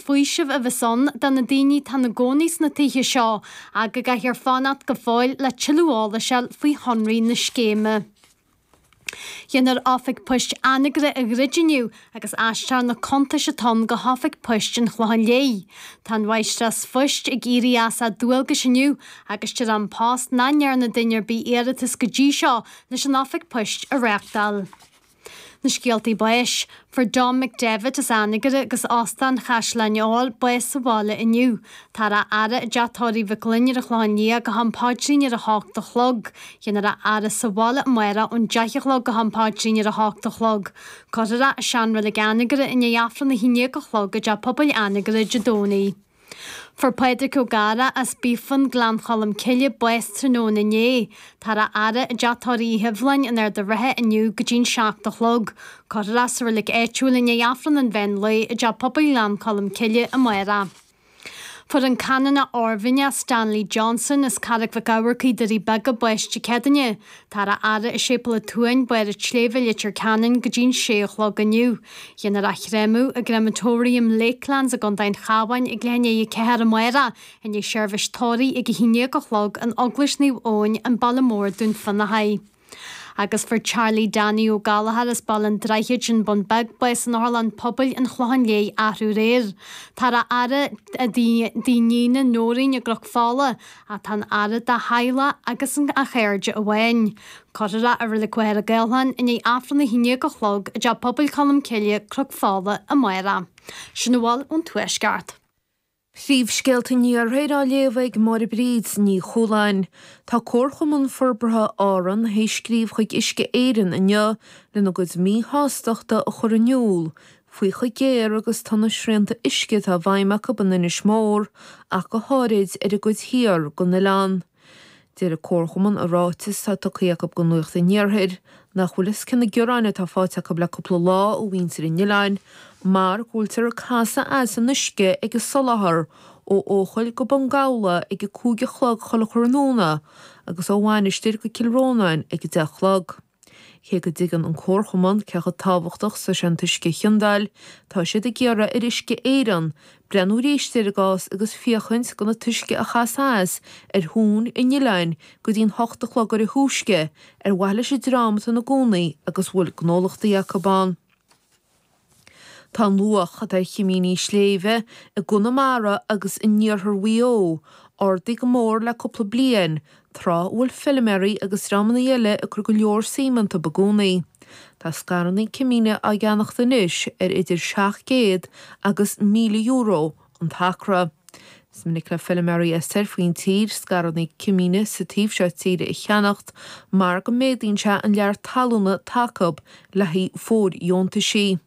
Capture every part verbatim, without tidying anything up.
faoiseamh a bheas ann do na daoine atá ina gcónaí sna tithe seo ach go gcaithfear fanacht go fóill le tuilleadh eolais a fháil faoi shonraí na scéime. Déanfar Oifig Poist Anagaire a dhruid inniu agus aistreofar na cuntais atá ann go hOifig Poist an Chlocháin Léith. Tá an mháistreás phoist ag éirí as a dualgais inniu agus deir An Post nach ndearna duine ar bith iarratas go dtí seo leis an Oifig Poist a reáchtáil. Na scéaltaí báis, fuair Dom McDevitt as Anagaire agus Óstán Chaisleán Eoil bás sa bhaile inniu. Táthar á fhaire i dteach tórraimh Mhic Fhloinn ar an Chlochán Liath go ham paidrín ar a hocht a chlog. Déanfar é a fhaire sa bhaile amárach ón deich a chlog go ham paidrín ar a hocht a chlog. Cuirfear é i seanreilig Anagaire i ndiaidh Aifreann a haon déag a chlog i dteach pobail Anagaire Dé Domhnaigh. Fuair Pádraig Ó Gadhra as Biafan Gleann Cholm Cille bás tráthnóna inné. Táthar á fhaire i dteach tórraimh Uí Hibhleáin in Ard an Rátha inniu go dtí'n seacht a chlog. Cuirfear é sa reilig áitiúil i ndiaidh Aifreann an mheán lae i dteach pobail Ghleann Cholm Cille amárach. Fuair an Canónach Oirmhinneach Stanley Johnson as Carraig Mhic Eamharcaigh, Doirí Beaga, bás Dé Céadaoine. Táthar á fhaire i Séipéal an tSuain, Barr an tSléibhe, Leitir Ceanainn go dtí'n sé a chlog inniu. Déanfar é a chréamadh i gCrematorium Lakelands i gContae an Chabháin ag leath i ndiaidh a ceathair amárach, i ndiaidh seirbhís tórraimh ag a haon déag a chlog in Eaglais Naomh Eoin, an Baile Mór, Dún Fionnachaidh. Agus fuair Charlie Danny Ó Gallchóir as Baile an Droichid, An Bun Beag, bás in Otharlann Pobail an Chlocháin Léith arú aréir. Táthar á fhaire i dtigh a iníne Nóirín i gCnoc Fola, ach tá an fhaire dá theaghlach agus a chairde amháin. Cuirfear é i Reilig Mhachaire Gathlán i ndiaidh Aifreann a haon déag a chlog i dTeach Pobail Cholm Cille, Cnoc Fola, amárach. Sin a bhfuil ón Tuaisceart. Príomhscéalta an Iarthair á léamh ag Máire Bríd Ní Chualáin. Tá Comharchumann Forbartha Árann théis scríobh chuig Uisce Éireann inniu lena gcuid míshástachta a chur in iúl faoi chomh géar agus tá na srianta uisce atá i bhfeidhm acu in Inis Mór ach go háirid ar an gcuid thiar den oileán. Deir an Comharchumann i ráiteas atá tugtha acu do Nuacht an Iarthair nach bhfuil fhios cé na gearáin atá faighte acu le cúpla lá ó mhuintir an oileáin mar go bhfuiltear ag casadh as an uisce ag an soláthar ó Eochaill go Bun Gabhla ag a cúig a chlog chuile thráthnóna agus ó Mhainistir go Cill Rónáin ag a deich a chlog. Cé go dtuigeann an Comharchumann cé chomh tábhachtach is atá sé an t-uisce a chiondáil, tá siad ag iarraidh ar Uisce Éireann breathnú arís ar an gcás agus féachaint gan an t-uisce a chasadh as ar thóin an oileáin go dtí'n hocht a chlog ar a thúisce ar mhaithe leis an dream atá ina gcónaí agus a bhfuil gnólachtaí acu ann. Tá an luach atá ar chimíní sléibhe i gConamara agus in iarthar Mhaigh Eo ardaithe go mór le cúpla bliain, tráth a bhfuil feilméaraí agus dreamanna eile ag cur go leor suim iontu i gcónaí. Tá scaireanna cimíne á gceannacht anois ar idir seacht gcéad agus míle euro an t-acra. Is minic le feilméaraí as soir faoin tír scaireanna cimíne sa taobh seo tíre a cheannacht mar go méadaíonn sé an lear talúna atá acu le haghaidh fóirdheontaisí.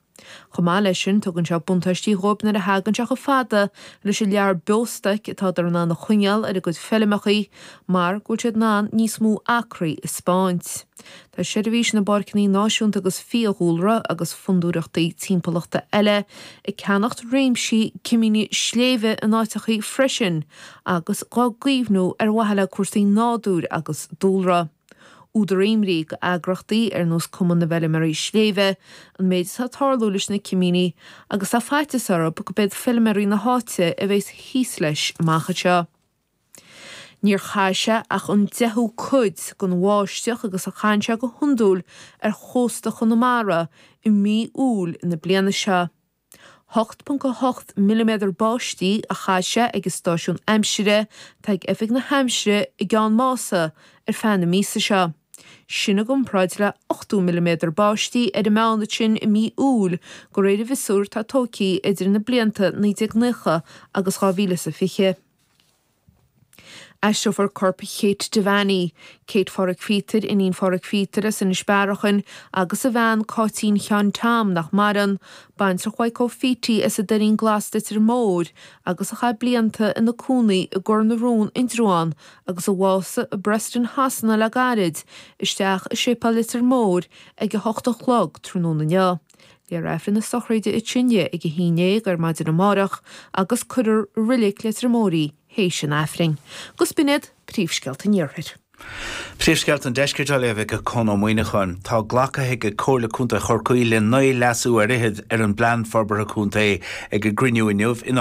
Chomh maith leis sin, tugann sé buntáistí dhóibh nuair a thagann sé chomh fada leis an lear beostoic atádar in ann a choinneáil ar a gcuid feilmeachaí mar go bhfuil siad in ann níos mó acraí a 'speáint. Tá Seirbhís na bPáirceanna Náisiúnta agus Fiadhúlra agus fondúireachtaí timpeallachta eile ag ceannacht réimsí cimíní sléibhe in áiteachaí freisin agus dhá gcaomhnú ar mhaithe le cúrsaí nádúir agus dúlra. Údar imní do eagrachtaí ar nós Cumann na bhFeilméaraí Sléibhe an méid atá ag tarlú leis na cimíní agus tá faitíos orthu go mbeidh feilméaraí na háite a bheas thíos leis amach anseo. Níor chaith sé ach an deichiú cuid den bháisteach agus a chaitheann sé go hiondúil ar chósta Chonamara i mí Iúil na bliana seo. hocht ponc a hocht milliméadar báistí a chaith sé ag an stáisiún aimsire atá ag Oifig na hAimsire i gCeann Mása ar feadh na míosa seo. Sin i gcomparáid le ochtó milliméadar báistí ar an meán ansin i mí Iúil de réir an mhiosúir atá tógtha idir na blianta naoi déag nócha agus dhá mhíle is a fiche. Aistreofar corp Kate Devaney, Kate Phádraig Phíotair, iníon Phádraig Phíotair as Inis Bearachain, agus a bhean Cáitín Sheáin Tom, nach maireann, baintreach Mhaidhc Ó Fíti as an Doirín Glas Leitir Móir agus a chaith blianta ina cónaí i gCor na Rón Indreabhán agus a bhásaigh i Preston Shasana le gairid, isteach i Séipéal Leitir Móir ag a hocht a chlog tráthnóna inniu. Léifear Aifreann na sochraide ansin di ag a haon déag ar maidin amárach agus cuirfear i Reilig Leitir Móir í théis an Aifrinn. Agus b'in iad príomhscéalta an Iarthair. Príomhscéalta an Deiscirt á léamh ag Conn Ó Muíneacháin. Tá glactha ag Comhairle Contae Chorcaí le naoi leasú ar fhichead ar an bPlean Forbartha Contae ag a gcruinniú inniu in